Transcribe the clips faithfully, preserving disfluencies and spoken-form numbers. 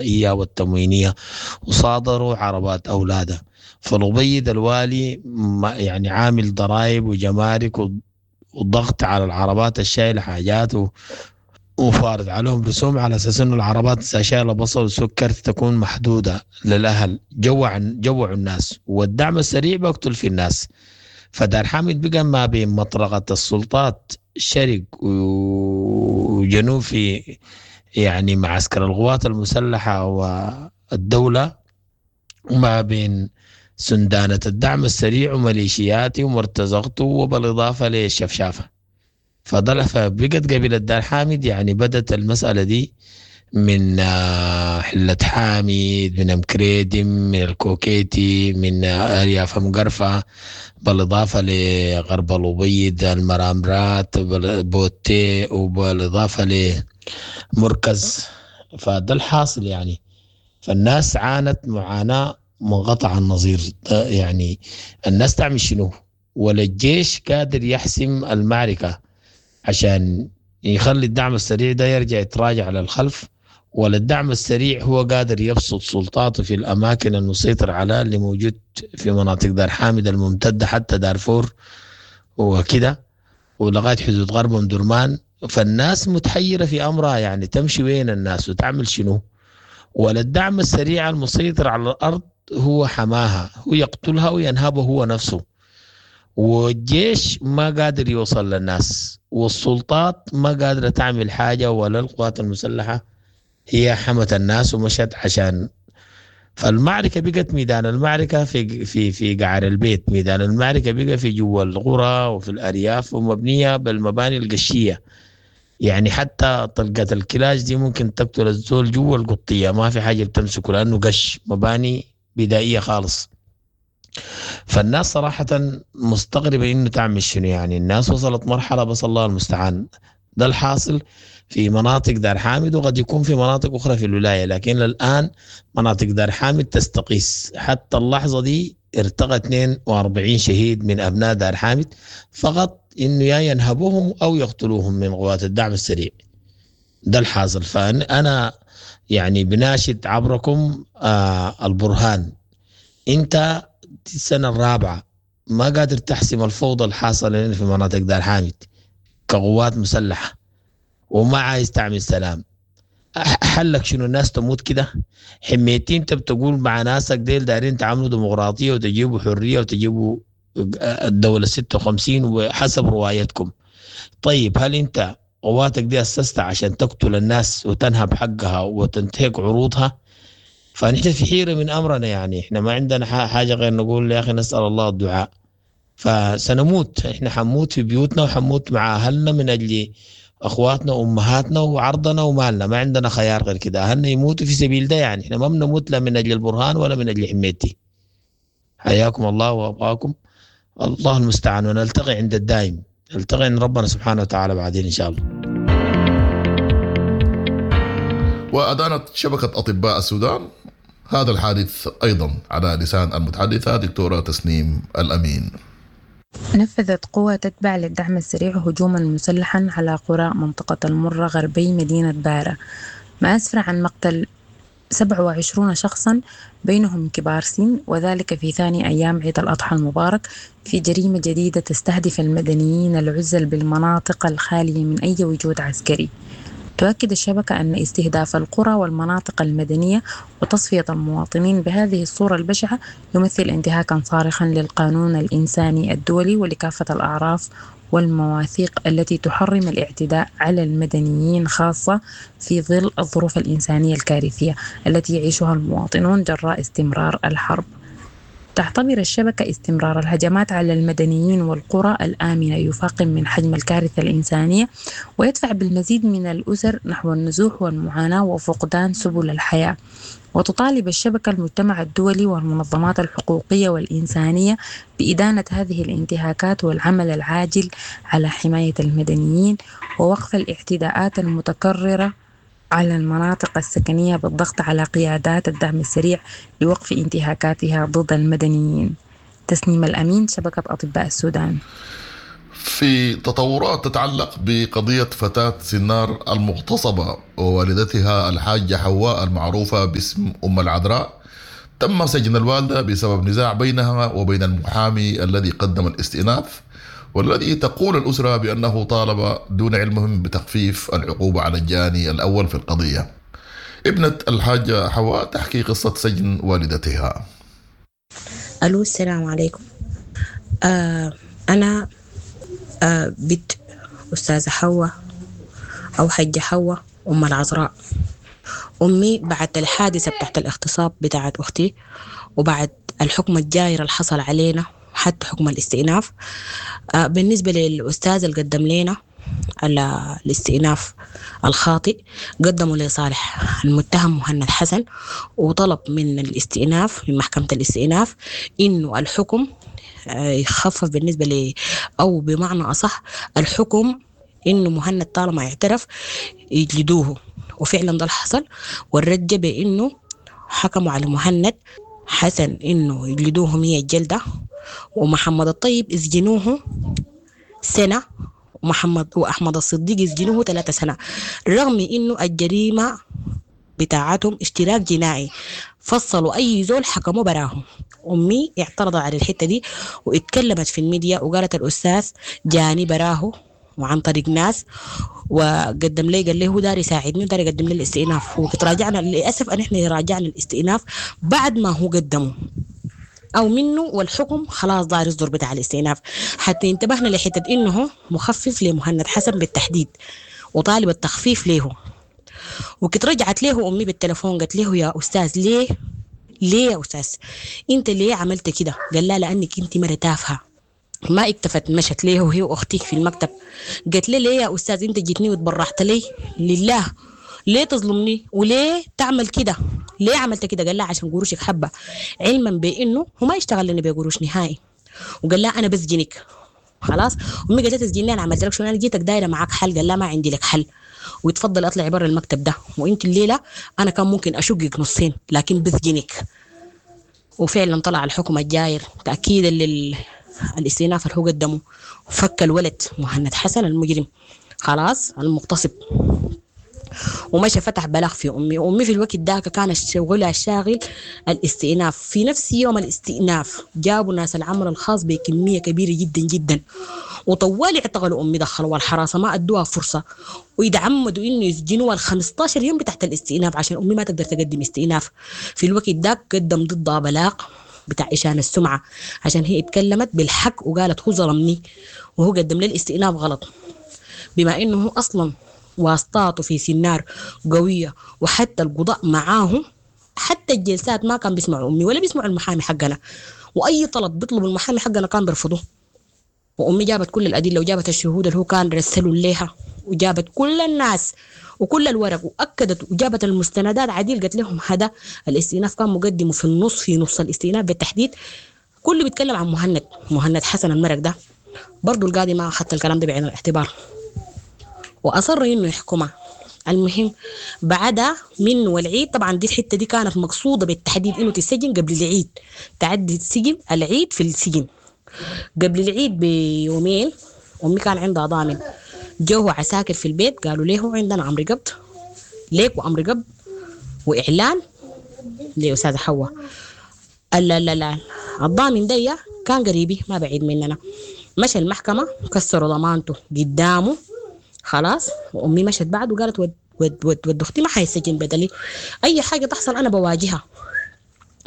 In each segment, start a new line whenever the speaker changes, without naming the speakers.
والتموينية وصادروا عربات أولادها. فالأبيض الوالي يعني عامل ضرائب وجمارك وضغط على العربات الشايلة حاجات وفارض عليهم رسوم على أساس إنه العربات شايلة بصل وسكر تكون محدودة للأهل. جوع، جوعوا الناس، والدعم السريع بقتل في الناس. فدار حامد بقى ما بين مطرقة السلطات شرق وجنوب في يعني معسكر القوات المسلحة والدولة، وما بين سندانة الدعم السريع وميليشياتي ومرتزقته، وبالإضافة للشفشافة. فضل فبقت قبيلة دار حامد يعني بدت المسألة دي من، آه، حلة حامد، من أمكريدم، من الكوكيتي، من، آه، أرياف مقرفة، بالإضافة لغرب الأبيض، المرامرات، بوتي، وبالإضافة لمركز. فده الحاصل يعني. فالناس عانت معاناة منقطع النظير. يعني الناس تعمل شنو؟ ولا الجيش قادر يحسم المعركة عشان يخلي الدعم السريع ده يرجع يتراجع للخلف، ولا الدعم السريع هو قادر يبسط سلطاته في الأماكن المسيطر عليها اللي موجود في مناطق دار حامد الممتدة حتى دارفور وكده ولغاية حدود غرب أم درمان. فالناس متحيرة في أمرها، يعني تمشي وين الناس وتعمل شنو؟ ولا الدعم السريع المسيطر على الأرض هو حماها، هو يقتلها وينهبه هو نفسه، والجيش ما قادر يوصل للناس، والسلطات ما قادرة تعمل حاجة، ولا القوات المسلحة هي حمت الناس ومشت عشان. فالمعركة بقت ميدان المعركة في، في، في قعر البيت، ميدان المعركة بقى في جوا القرى وفي الأرياف، ومبنية بالمباني القشية. يعني حتى طلقة الكلاش دي ممكن تقتل الزول جوا القطية، ما في حاجة بتمسكه لأنه قش، مباني بدائية خالص. فالناس صراحة مستغربة إنه تعمل شنو. يعني الناس وصلت مرحلة بس الله المستعان. ده الحاصل في مناطق دار حامد، وقد يكون في مناطق أخرى في الولاية، لكن الآن مناطق دار حامد تستقيس. حتى اللحظة دي ارتقى اثنين وأربعين شهيد من أبناء دار حامد فقط، إنه يا ينهبوهم أو يقتلوهم من قوات الدعم السريع. ده الحاصل. فأنا يعني بناشد عبركم، آه، البرهان، أنت السنة الرابعة ما قادر تحسم الفوضى الحاصلة في مناطق دار حامد كقوات مسلحة، وما عايز تعمل سلام. أح-، حلك شنو؟ الناس تموت كده؟ حميتين انت بتقول مع ناسك ديل دايرين تعملوا ديمقراطية وتجيبوا حرية وتجيبوا الدولة ستة وخمسين وحسب روايتكم. طيب هل انت قواتك دي أسستها عشان تقتل الناس وتنهب حقها وتنتهك عروضها؟ فنحن في حيرة من أمرنا، يعني احنا ما عندنا ح-، حاجة غير نقول يا أخي نسأل الله الدعاء. فسنموت، احنا حنموت في بيوتنا وحنموت مع أهلنا من أجل أخواتنا وأمهاتنا وعرضنا ومالنا، ما عندنا خيار غير كده. أهلنا يموتوا في سبيل ده، يعني احنا ما بنموت لا من أجل البرهان ولا من أجل حميتي. حياكم الله وأبقاكم، الله المستعان، ونلتقي عند الدائم، نلتقي عند ربنا سبحانه وتعالى بعدين إن شاء الله.
وأدانت شبكة أطباء السودان هذا الحادث أيضا على لسان المتحدثة دكتورة تسنيم الأمين.
نفذت قوة تتبع للدعم السريع هجوما مسلحا على قرى منطقة المرة غربي مدينة بارة، ما أسفر عن مقتل سبعة وعشرون شخصا بينهم كبار سن، وذلك في ثاني أيام عيد الأضحى المبارك، في جريمة جديدة تستهدف المدنيين العزل بالمناطق الخالية من أي وجود عسكري. تؤكد الشبكة أن استهداف القرى والمناطق المدنية وتصفية المواطنين بهذه الصورة البشعة يمثل انتهاكا صارخا للقانون الإنساني الدولي ولكافة الأعراف والمواثيق التي تحرم الاعتداء على المدنيين، خاصة في ظل الظروف الإنسانية الكارثية التي يعيشها المواطنون جراء استمرار الحرب. تعتبر الشبكة استمرار الهجمات على المدنيين والقرى الآمنة يفاقم من حجم الكارثة الإنسانية ويدفع بالمزيد من الأسر نحو النزوح والمعاناة وفقدان سبل الحياة. وتطالب الشبكة المجتمع الدولي والمنظمات الحقوقية والإنسانية بإدانة هذه الانتهاكات والعمل العاجل على حماية المدنيين ووقف الاعتداءات المتكررة على المناطق السكنية بالضغط على قيادات الدعم السريع لوقف انتهاكاتها ضد المدنيين. تسنيم الأمين، شبكة أطباء السودان.
في تطورات تتعلق بقضية فتاة سنار المغتصبة ووالدتها الحاجة حواء المعروفة باسم أم العذراء، تم سجن الوالدة بسبب نزاع بينها وبين المحامي الذي قدم الاستئناف، والذي تقول الأسرة بأنه طالب دون علمهم بتخفيف العقوبة على الجاني الأول في القضية. ابنة الحاجة حواء تحكي قصة سجن والدتها.
ألو، السلام عليكم. آه أنا آه بنت أستاذة حواء أو حجة حواء أم العذراء. أمي بعد الحادثة بتاعت الاغتصاب بتاعت أختي وبعد الحكم الجاير اللي حصل علينا حتى حكم الاستئناف، آه بالنسبة للأستاذ اللي قدم لنا الاستئناف الخاطئ، قدموا لصالح المتهم مهند حسن وطلب من الاستئناف من محكمة الاستئناف إنه الحكم يخفف بالنسبة ل أو بمعنى أصح الحكم إنه مهند طالما اعترف يجلدوه، وفعلا ده اللي حصل. والرجة بإنه حكموا على مهند حسن إنه يجلدوه مية جلدة، ومحمد الطيب يسجنوه سنة، ومحمد وأحمد الصديق يسجنوه ثلاثة سنة، رغم إنه الجريمة بتاعتهم اشتراك جنائي، فصلوا أي زول حكموا براهم. أمي اعترضت على الحتة دي واتكلمت في الميديا وقالت الأستاذ جاني براه وعن طريق ناس وقدم لي، قال لي هو داري يساعدني وداري يقدم لي الاستئناف، وتراجعنا للأسف أن احنا راجعنا الاستئناف بعد ما هو قدمه أو منه، والحكم خلاص دار يصدر بتاع الاستئناف. حتى انتبهنا لحتة إنه مخفف لمهند حسن بالتحديد وطالب التخفيف له. وكت رجعت له أمي بالتلفون قالت له يا أستاذ ليه ليه يا أستاذ أنت ليه عملت كده؟ قال لا لأنك أنت مرة تافهة. ما اكتفت، مشت ليه وهي وأختي في المكتب، قالت لي ليه يا أستاذ أنت جيتني وتبرعت لي لله، ليه تظلمني وليه تعمل كده؟ ليه عملت كده؟ قال لها عشان قروشك حبة، علما بأنه هو ما يشتغل لنا بقروش نهائي. وقال لها أنا بسجنك خلاص. أمي قالت لها تسجني أنا عملت لك شو؟ أنا جيتك دايرة معاك حل. قال لها ما عندي لك حل، ويتفضل أطلع برا المكتب ده، وإنت الليلة أنا كان ممكن أشقك نصين لكن بسجنك. وفعلا طلع الحكم الجاير تأكيدا للاستئناف اللي هو قدمه، فك الولد مهند حسن المجرم خلاص المغتصب، ومشى فتح بلاغ في أمي. وأمي في الوقت ذاك كان شغلها الشاغل الاستئناف. في نفس يوم الاستئناف جابوا ناس العمل الخاص بكمية كبيرة جدا جدا، وطوال اعتقلوا أمي، دخلوا الحراسة ما أدوها فرصة، ويتعمدوا إنه يسجنوها ال خمستاشر يوم بتاعت الاستئناف عشان أمي ما تقدر تقدم استئناف. في الوقت ذاك قدم ضدها بلاغ بتاع إشانة السمعة عشان هي اتكلمت بالحق وقالت هو ظلمني وهو قدم لي الاستئناف غلط، بما إنه هو أصلا واسطاته في سنار قوية وحتى القضاء معاهم، حتى الجلسات ما كان بيسمعوا أمي ولا بيسمعوا المحامي حقنا، وأي طلب بيطلب المحامي حقنا كان بيرفضوه. وأمي جابت كل الأدلة وجابت الشهود اللي هو كان رسلوا ليها، وجابت كل الناس وكل الورق وأكدت وجابت المستندات عديل. قالت لهم هذا الاستئناف كان مقدمه في النص، في نص الاستئناف بالتحديد كله بيتكلم عن مهند مهند حسن المرق ده. برضو القاضي ما أخذت الكلام ده بعين الاعتبار وأصر إنه يحكمها. المهم بعدها منه والعيد، طبعا دي الحتة دي كانت مقصودة بالتحديد إنه تسجن قبل العيد، تعدي السجن العيد في السجن قبل العيد بيومين. أمي كان عندها ضامن، جوه عساكر في البيت قالوا له عندنا أمر قبض ليك وأمر قبض وإعلان لأستاذة حواء. لا لا لا الضامن دي كان قريبي ما بعيد مننا، مشى المحكمة كسروا ضمانته قدامه خلاص. وأمي مشت بعد وقالت ود ود ود ود أختي ما حيسجن بدلي، أي حاجة تحصل أنا بواجهها،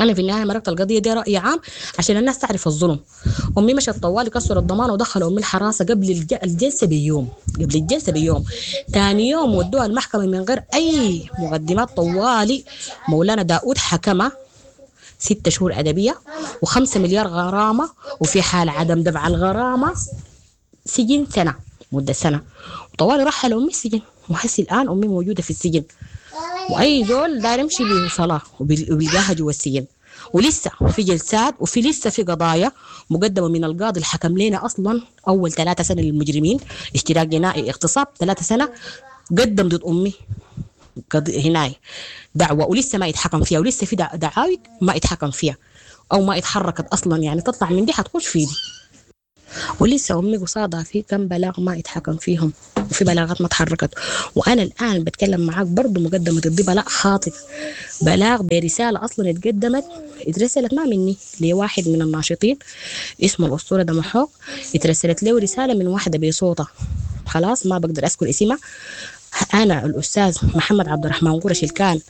أنا في النهاية مرقت القضية دي رأي عام عشان الناس تعرف الظلم. أمي مشت طوالي كسروا الضمان ودخلوا أمي الحراسة قبل الجلسة بيوم، قبل الجلسة بيوم. تاني يوم ودوها المحكمة من غير أي مقدمات طوالي. مولانا داود حكمه ستة شهور أدبية وخمسة مليار غرامة، وفي حال عدم دفع الغرامة سجن سنة، مدة سنة. وطوالي رحلوا أمي السجن، وحسي الآن أمي موجودة في السجن، وأي زول داير يمشي بصلاة وبيلقاها جوا السجن. ولسه في جلسات وفي لسه في قضايا مقدمة من القاضي الحكم لنا أصلا أول ثلاثة سنة للمجرمين اشتراك جنائي اغتصاب ثلاثة سنة، قدم ضد أمي هناي دعوة ولسه ما يتحكم فيها، ولسه في دعاوي ما يتحكم فيها أو ما يتحركت أصلا، يعني تطلع من دي حتخش في دي. ولسه أمي قصادها في كم بلاغ ما اتحكم فيهم، وفي بلاغات ما اتحركت. وأنا الآن بتكلم معاك برضو مقدمة ضدي بلاغ خاطئ، بلاغ برسالة أصلا اتقدمت، اترسلت ما مني لواحد من الناشطين اسمه الأسطورة دمحوك، اترسلت له رسالة من واحدة بصوتها، خلاص ما بقدر أذكر اسمها. أنا الأستاذ محمد عبد الرحمن قرش اللي كان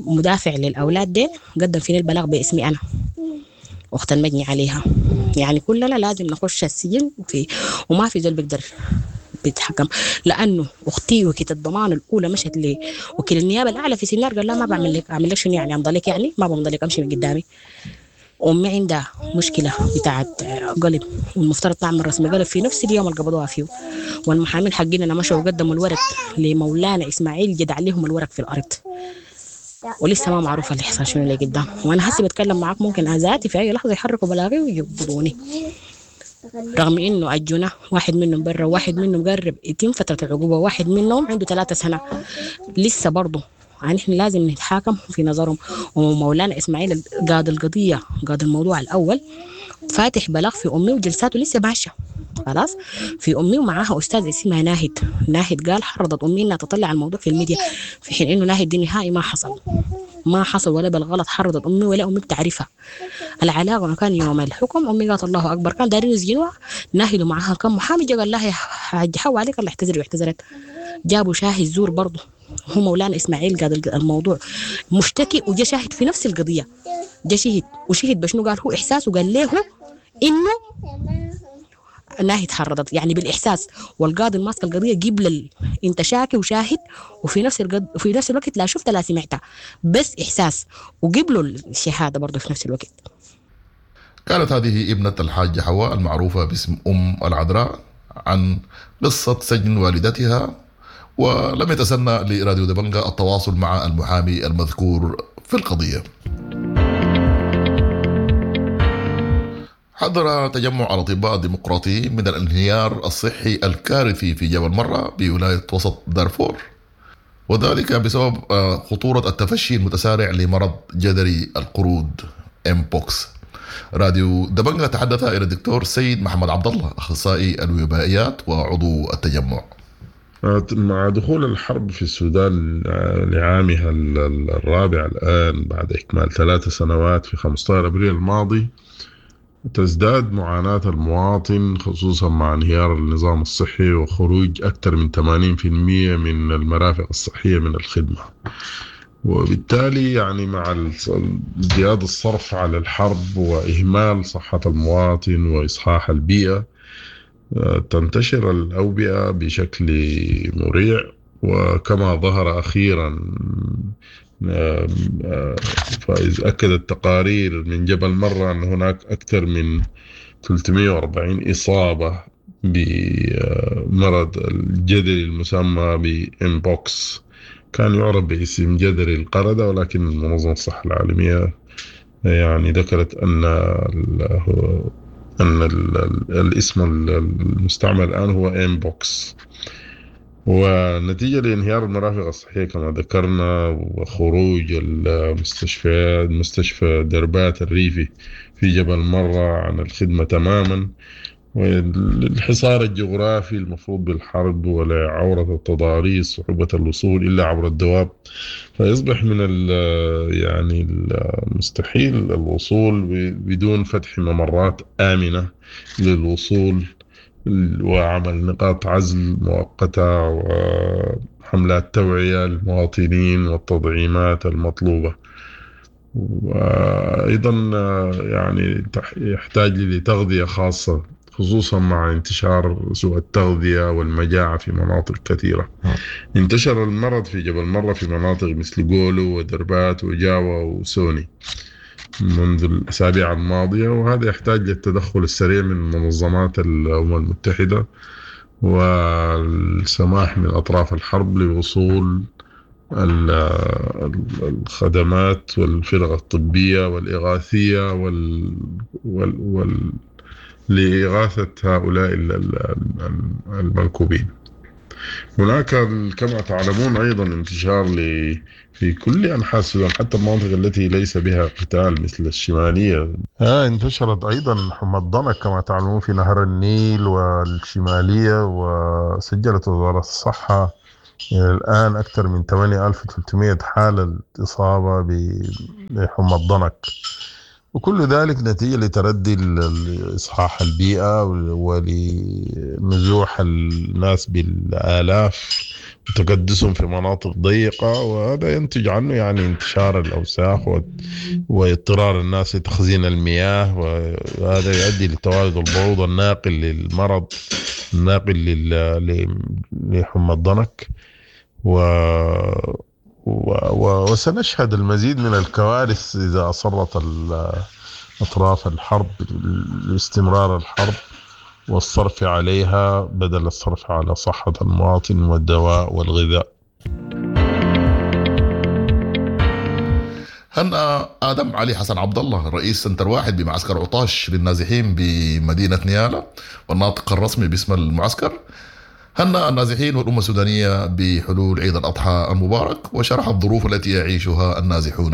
مدافع للأولاد دي قدم فيني البلاغ باسمي أنا أخت المجني عليها. يعني كلنا لازم نخش السجن في، وما في زول بيقدر بيتحكم، لأنه أختي وكيلة الضمان الأولى مشت لي وكيل النيابة الأعلى في سنار قال لا ما بعمل لك، أعمل لك شنو يعني، أمضي لك يعني، ما بمضي لك، أمشي من قدامي. أمي عندها مشكلة بتاعت قلب والمفترض تعمل رسم قلب في نفس اليوم اللي قبضوها فيه، والمحامين حقنا مشوا وقدموا الورق لمولانا إسماعيل جدع عليهم الورق في الأرض، ولسه ما معروف اللي حصل شنو اللي قدام. وأنا هسي بتكلم معاك ممكن أذاتي في أي لحظة يحركوا بلاغي ويقبضوني، رغم إنه أجونا واحد منهم برا وواحد منهم قرب يتم فترة العقوبة، واحد منهم عنده ثلاثة سنة لسه برضه. يعني إحنا لازم نتحاكم في نظرهم. ومولانا إسماعيل قاضي القضية، قاضي الموضوع الأول، فاتح بلاغ في أمي وجلساته لسه ماشية خلاص في أمي، ومعاها أستاذ اسمها ناهد. ناهد قال حرضت أمي إنها تطلع الموضوع في الميديا، في حين إنه ناهد دي نهائي ما حصل، ما حصل ولا بالغلط حرضت أمي ولا أمي بتعرفها. العلاقة كان يوم الحكم أمي قالت الله أكبر، كان دارين يسجنوها. ناهد ومعاها كم محامي جا قال لها يا حاج حوا عليك الله اعتذري، واعتذرت. جابوا شاهد زور برضه، هو مولانا إسماعيل قال الموضوع مشتكي وجا شاهد في نفس القضية، جا شهد وشهد بشنو قال هو إحساسه، قال له إنه ناهد حرضت يعني بالإحساس. والقاضي ماسك القضية قبل ال... أنت شاكي وشاهد وفي نفس القض... وفي نفس الوقت لا شفت لا سمعتها، بس إحساس، وقبلوا الشهادة برضه في نفس الوقت.
كانت هذه ابنة الحاجة حواء المعروفة باسم أم العذراء عن قصة سجن والدتها، ولم يتسنى لراديو دبنجا التواصل مع المحامي المذكور في القضية. حذر تجمع الأطباء الديمقراطيين من الانهيار الصحي الكارثي في جبل مرة بولاية وسط دارفور، وذلك بسبب خطورة التفشي المتسارع لمرض جدري القرود إمبوكس. راديو دبنجا تحدث إلى الدكتور سيد محمد عبد الله أخصائي الوبائيات وعضو التجمع.
مع دخول الحرب في السودان لعامها الرابع الآن بعد إكمال ثلاث سنوات في خمسة عشر أبريل الماضي، تزداد معاناة المواطن خصوصا مع انهيار النظام الصحي وخروج أكثر من ثمانين بالمئة من المرافق الصحية من الخدمة، وبالتالي يعني مع ازدياد الصرف على الحرب وإهمال صحة المواطن وإصحاح البيئة تنتشر الأوبئة بشكل مريع. وكما ظهر أخيرا فإذ أكدت تقارير من جبل مرة أن هناك أكثر من ثلاثمئة وأربعين إصابة بمرض الجدري المسمى بإمبوكس، كان يعرف باسم جدري القردة، ولكن منظمة الصحة العالمية يعني ذكرت أن أن الاسم المستعمل الآن هو إمبوكس. ونتيجة لانهيار المرافق الصحية كما ذكرنا وخروج المستشفيات مستشفى دربات الريفي في جبل مرة عن الخدمة تماما، والحصار الجغرافي المفروض بالحرب ولعورة التضاريس صعوبة الوصول إلا عبر الدواب، فيصبح من يعني المستحيل الوصول بدون فتح ممرات آمنة للوصول وعمل نقاط عزل مؤقتة وحملات توعية للمواطنين والتطعيمات المطلوبة. وأيضا يعني يحتاج لتغذية خاصة خصوصا مع انتشار سوء التغذية والمجاعة في مناطق كثيرة. انتشر المرض في جبل مرة في مناطق مثل جولو ودربات وجاوا وسوني منذ الأسابيع الماضية، وهذا يحتاج للتدخل السريع من منظمات الأمم المتحدة والسماح من أطراف الحرب لوصول الخدمات والفرق الطبية والإغاثية وال... وال... وال... لإغاثة هؤلاء المنكوبين. هناك كما تعلمون أيضا انتشار في كل أنحاء السودان، حتى المناطق التي ليس بها قتال مثل الشمالية. آه انتشرت أيضا حمى الضنك كما تعلمون في نهر النيل والشمالية، وسجلت وزارة الصحة الآن أكثر من ثمانية آلاف وثلاثمئة حالة إصابة بحمى الضنك، وكل ذلك نتيجة لتردي إصحاح البيئة ولنزوح الناس بالآلاف وتكدسهم في مناطق ضيقة، وهذا ينتج عنه يعني انتشار الأوساخ واضطرار الناس لتخزين المياه، وهذا يؤدي لتوالد البعوض الناقل للمرض الناقل لحمى الضنك. و وسنشهد المزيد من الكوارث إذا أصرت أطراف الحرب لاستمرار الحرب والصرف عليها بدل الصرف على صحة المواطن والدواء والغذاء.
هنأ آدم علي حسن عبد الله رئيس سنتر واحد بمعسكر عطاش للنازحين بمدينة نيالا والناطق الرسمي باسم المعسكر، هنأ النازحين والأمة السودانية بحلول عيد الأضحى المبارك وشرح الظروف التي يعيشها النازحون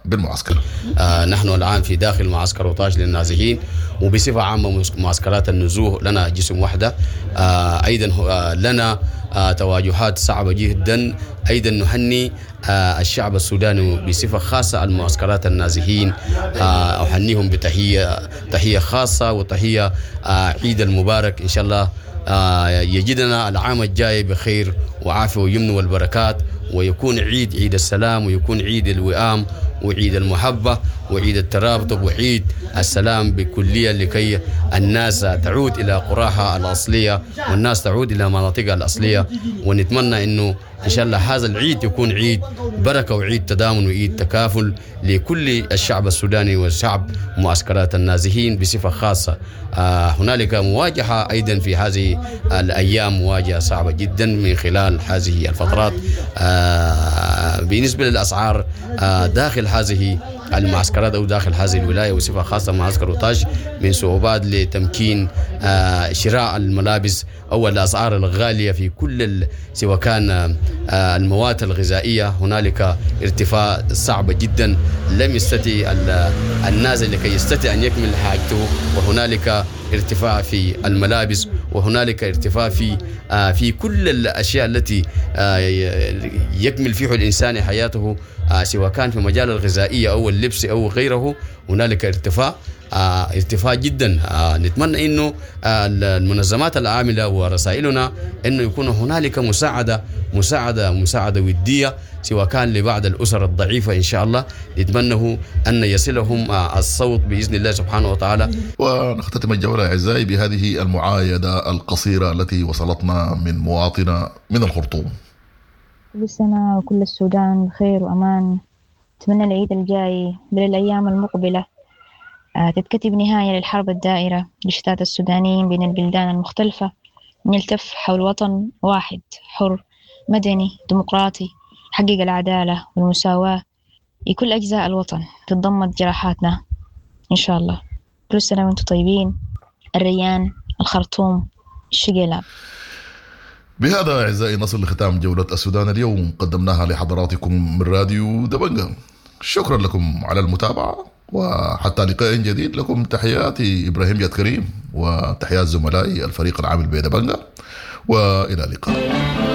بالمعسكر.
آه نحن الآن في داخل معسكر عطاش للنازحين، وبصفة عامة معسكرات النزوح لنا جسم وحدة. آه أيضا لنا آه تواجهات صعبة جدا. أيضا نهني آه الشعب السوداني بصفة خاصة المعسكرات النازحين، آه أهنيهم بتحية تحية خاصة وتحية آه عيد المبارك إن شاء الله. آه يجدنا العام الجاي بخير وعافية ويمن والبركات، ويكون عيد عيد السلام، ويكون عيد الوئام وعيد المحبة وعيد الترابط وعيد السلام بكلية، لكي الناس تعود إلى قراها الأصلية والناس تعود إلى مناطقها الأصلية. ونتمنى أنه إن شاء الله هذا العيد يكون عيد بركة وعيد تضامن وعيد تكافل لكل الشعب السوداني والشعب معسكرات النازحين بصفة خاصة. آه هنالك مواجهة أيضا في هذه الأيام، مواجهة صعبة جدا من خلال هذه الفترات. آه بالنسبة للأسعار آه داخل هذه المعسكرات أو داخل هذه الولاية وصفة خاصة معسكر عطاش، من صعوبات لتمكين آه شراء الملابس أو الأسعار الغالية في كل سواء كان آه المواد الغذائية. هنالك ارتفاع صعب جدا لم يستطيع النازل لكي يستطيع أن يكمل حاجته، وهنالك ارتفاع في الملابس، وهنالك ارتفاع في آه في كل الأشياء التي آه يكمل فيها الإنسان حياته، آه سواء كان في مجال الغذائية أو اللبس أو غيره. هنالك ارتفاع آه ارتفاع جدا. آه نتمنى انه آه المنظمات العامله ورسائلنا انه يكون هنالك مساعده مساعده مساعده وديه سواء كان لبعض الاسر الضعيفه ان شاء الله. نتمنى ان يصلهم آه الصوت باذن الله سبحانه وتعالى.
ونختتم الجوله اعزائي بهذه المعايده القصيره التي وصلتنا من مواطنه من الخرطوم.
كل سنه وكل السودان بخير وامان. أتمنى العيد الجاي بل الأيام المقبلة تتكتب نهاية للحرب الدائرة لشتات السودانيين بين البلدان المختلفة، نلتف حول وطن واحد حر مدني ديمقراطي يحقق العدالة والمساواة لكل أجزاء الوطن، تتضمد جراحاتنا إن شاء الله. كل سنة وأنتم طيبين. الريان، الخرطوم، الشقيلاب.
بهذا أعزائي نصل لختام جولة السودان اليوم، قدمناها لحضراتكم من راديو دبنجة. شكرا لكم على المتابعة، وحتى لقاء جديد لكم تحياتي إبراهيم جاد كريم وتحيات زملائي الفريق العامل بدبنجة، وإلى اللقاء.